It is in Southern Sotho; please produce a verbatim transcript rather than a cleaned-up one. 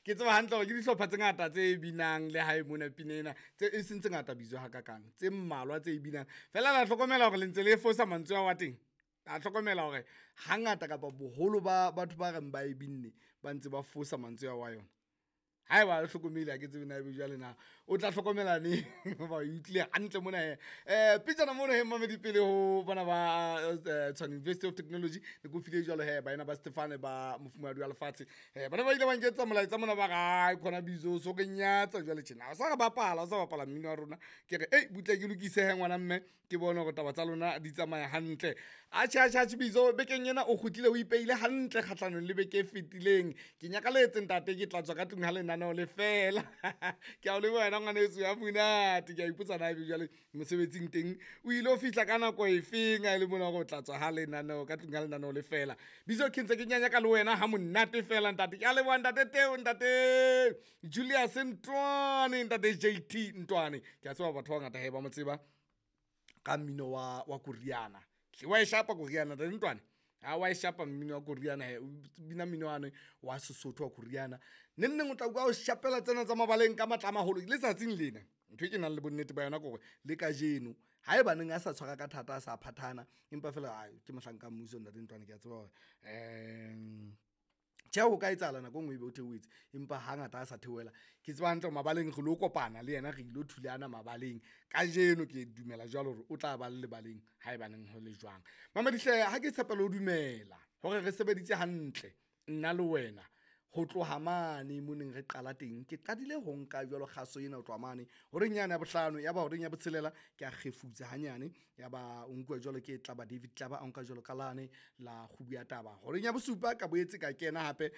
Ke tseba hantle hore ke dihlopha tse ngata tse binang le hae mona pina ena, tse e seng tse ngata bitso hakakang, tse mmalwa tse binang. Fela la hlokomela hore le ntse le fosa mantswe ao a teng. A hlokomela hore hangata kapa boholo ba batho ba reng ba e binne ba ntse ba fosa mantswe ao a yona. Haeba le hlokomele ha ke tsebe na ebe jwale na o tla hlokomela neng hoba o utlwile hantle mona he. Um pejana mono he mmamedi pele ho bona ba eh, Tshwane University of Technology ne ke o file jwalo he baena ba Stefane ba mofumahadi wa lefatshe. um Bana ba ile ba nketsa molaetsa mona ba re ai khona bizo so re nyatsa jwale tjena. O sa re bapala, o sa bapala mmino wa rona. Ke re ei butle ke lokise he ngwana mme ke bone hore taba tsa lona di tsamaya hantle. Atjhe atjhe atjhe Bizo bekeng ena o kgutlile o ipeile hantle kgahlanong le beke e fetileng. Ke nyakaletse ntate ke tla tswa ka tlung ha lenaneo le fela. Ke a o leboha wena ngwaneso ya monate. Ke a ipotsa na ebe jwale mosebetsing teng o ile ho fihla ka nako e feng ha e le mona hore o tla tswa ha lenaneo ka tlung ha lenaneo le fela. Bizo ke ntse ke nyanyaka le wena ha monate fela ntate. Ke a leboha ntate Teo, ntate Julius Ntwane, ntate J T Ntwane. Ke a tseba batho ba bangata he ba mo tseba ka mmino wa wa koriana. Hle wa e shapa koriana ntate Ntwane. Ha wa e shapa mmino wa koriana he, o bina mmino wane wa Sesotho wa koriana. Neng neng o tla utlwa o shapela tsena tsa mabaleng ka matla a maholo letsatsing lena. Ntho e ke nang le bonnete ba yona ke hore le kajeno haebaneng a sa tshwara ka thata, a sa phathana, empa fela ai ke mohlanka mmuso ntate Ntwane. Ke a tseba hore um tjhe ho ka etsahala nako e nngwe ebe o theohetse, empa hangata a sa theohela. Ke tseba hantle hore mabaleng re lo kopana le yena, re ilo thulana mabaleng. Kajeno ke dumela jwalo hore o tla ba le lebaleng haebaneng ho le jwang. Mamedi hle ha ke tshepela ho dumela hore re sebeditse hantle nna le wena ho tloha mane mo neng re qala teng. Ke qadile ho nka jwalo kgaso ena ho tloha mane horeng yane ya bohlano, ya ba horeng ya botshelela ke a kgefutsa hanyane, ya ba o nkuwa jwalo ke Tlaba David Tlaba, a nka jwalo ka lane la kgubu ya taba. Horeng ya bosupa ka boetse ka kena hape.